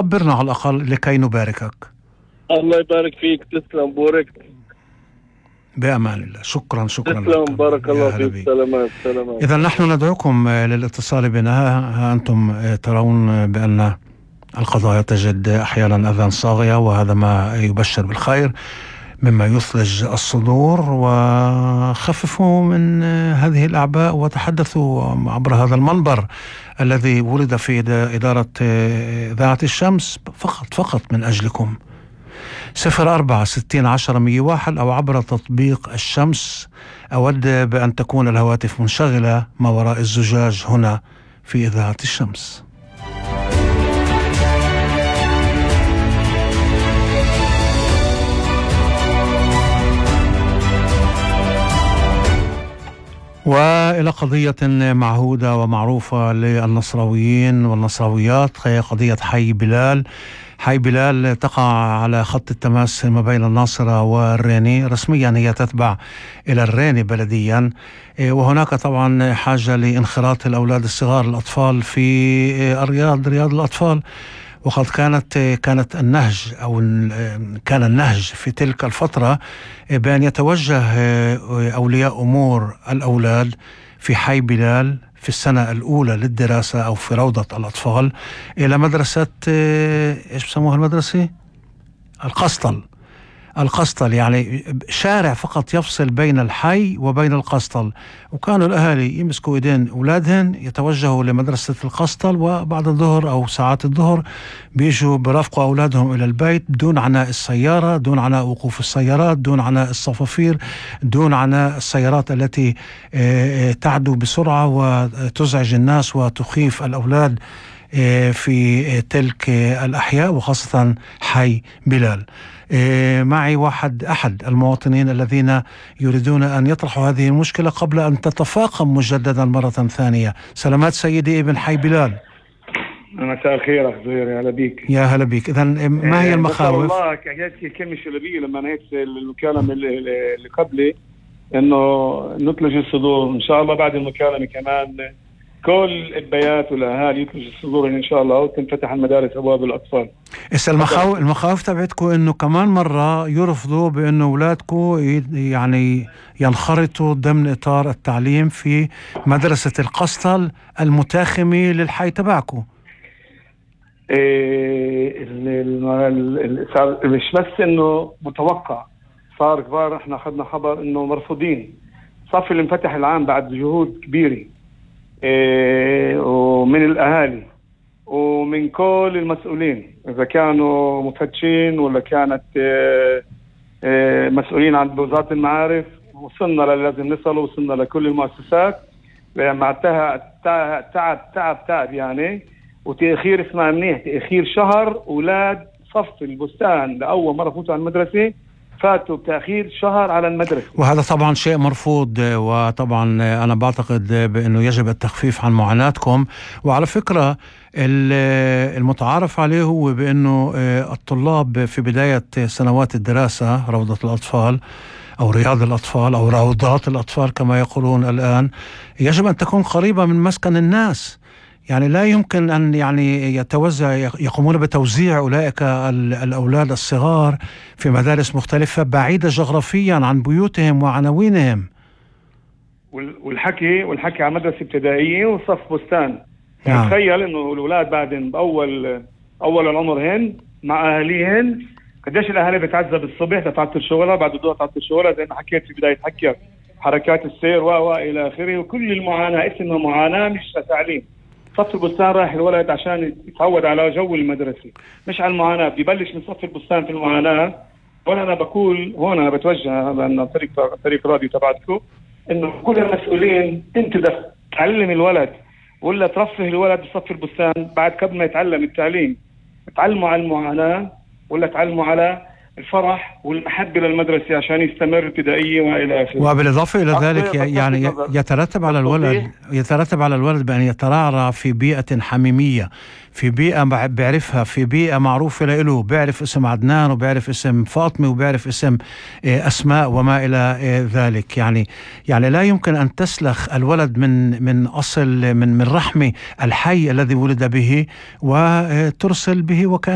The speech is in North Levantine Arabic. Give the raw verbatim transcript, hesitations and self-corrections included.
خبرنا على الأقل لكي نباركك. الله يبارك فيك، تسلم، بوركت. بأمان الله. شكرا شكرا تسلم، لك. بارك الله فيك. سلامات سلامات. إذا نحن ندعوكم للاتصال بنا. ها أنتم ترون بأن القضايا تجد أحيانا أذان صاغية، وهذا ما يبشر بالخير مما يثلج الصدور. وخففوا من هذه الأعباء وتحدثوا عبر هذا المنبر الذي ولد في إدارة إذاعة الشمس فقط فقط من أجلكم. صفر أربعة ستين عشرة مية واحد أو عبر تطبيق الشمس. أود بأن تكون الهواتف منشغلة ما وراء الزجاج هنا في إذاعة الشمس. وإلى قضية معهودة ومعروفة للنصراويين والنصراويات، هي قضية حي بلال. حي بلال تقع على خط التماس ما بين الناصرة والريني. رسميا هي تتبع إلى الريني بلديا، وهناك طبعا حاجة لانخراط الأولاد الصغار الأطفال في الرياض، رياض الأطفال. وقد كانت كانت النهج أو كان النهج في تلك الفترة بأن يتوجه أولياء أمور الأولاد في حي بلال في السنة الأولى للدراسة أو في روضة الأطفال إلى مدرسة إيش بسموها المدرسة؟ القسطل. القسطل يعني شارع فقط يفصل بين الحي وبين القسطل. وكانوا الأهالي يمسكوا إيدين أولادهن يتوجهوا لمدرسة القسطل، وبعد الظهر أو ساعات الظهر بيجوا برافقوا أولادهم إلى البيت بدون عناء السيارة، دون عناء وقوف السيارات، دون عناء الصفافير، دون عناء السيارات التي تعدو بسرعة وتزعج الناس وتخيف الأولاد في تلك الأحياء وخاصة حي بلال. معي واحد أحد المواطنين الذين يريدون أن يطرحوا هذه المشكلة قبل أن تتفاقم مجددا مرة ثانية. سلامات سيدي ابن حي بلال. مساء الخير أخ زهير، يا هلا بيك. يا هلا بيك. إذا ما هي المخاوف؟ والله حكيت كلمة شلبية لما نهيت المكالمة اللي قبلي إنه نتلج الصدور إن شاء الله. بعد المكالمة كمان كل البيات والأهالي يتلج الصدور إن شاء الله وتنفتح المدارس أبواب الأطفال. إسا المخاوف المخاوف تبعتكم إنه كمان مرة يرفضوا بإنه أولادكم يعني ينخرطوا ضمن إطار التعليم في مدرسة القسطل المتاخمة للحي تبعكم. إيه مش بس إنه متوقع، صار كبار. إحنا أخذنا خبر إنه مرفوضين. صف اللي انفتح العام بعد جهود كبيرة إيه ومن الأهالي ومن كل المسؤولين، إذا كانوا مفتشين ولا كانت إيه إيه مسؤولين عن وزارة المعارف. وصلنا للازم نصل، وصلنا لكل المؤسسات مع تعب تعب تعب تعب يعني. وتأخير اسمها منيح، تأخير شهر. أولاد صف البستان لأول مرة فوتوا على المدرسة فاتوا بتأخير شهر على المدرسة، وهذا طبعا شيء مرفوض. وطبعا أنا بعتقد بأنه يجب التخفيف عن معاناتكم. وعلى فكرة المتعارف عليه هو بأنه الطلاب في بداية سنوات الدراسة روضة الأطفال أو رياض الأطفال أو روضات الأطفال كما يقولون الآن يجب أن تكون قريبة من مسكن الناس. يعني لا يمكن أن يعني يتوزع يقومون بتوزيع أولئك الأولاد الصغار في مدارس مختلفة بعيدة جغرافيا عن بيوتهم وعناوينهم. والحكي والحكي على مدرسة ابتدائية وصف بستان. يعني نعم. تخيل إنه الأولاد بعدين بأول أول العمر هن مع أهليهن قديش الأهالي بتعذب الصبح تتعطل شغلها، بعد الظهر تعطل شغلها زي ما حكيت في بداية حكي حركات السير و إلى آخره. وكل المعاناة اسمها معاناة مش تعليم. صف البستان رايح الولد عشان يتعود على جو المدرسة، مش على المعاناة. بيبلش من صف البستان في المعاناة. وأنا أنا بقول هون أنا بتوجه لأن طريق طريق راديو تبعتكم إنه كل المسؤولين أنت بدك تعلم الولد ولا ترفه الولد بصف البستان بعد قبل ما يتعلم التعليم. تعلموا على المعاناة ولا تعلموا على الفرح والمحبة للمدرسة عشان يستمر ابتدائية وإلى آخره. وبالإضافة إلى ذلك يعني يترتب على الولد يترتب على الولد بأن يترعرع في بيئة حميمية، في بيئة بيعرفها، في بيئة معروفة له، بيعرف اسم عدنان وبيعرف اسم فاطمة وبيعرف اسم أسماء وما إلى ذلك. يعني يعني لا يمكن أن تسلخ الولد من من أصل من من رحم الحي الذي ولد به وترسل به وكأن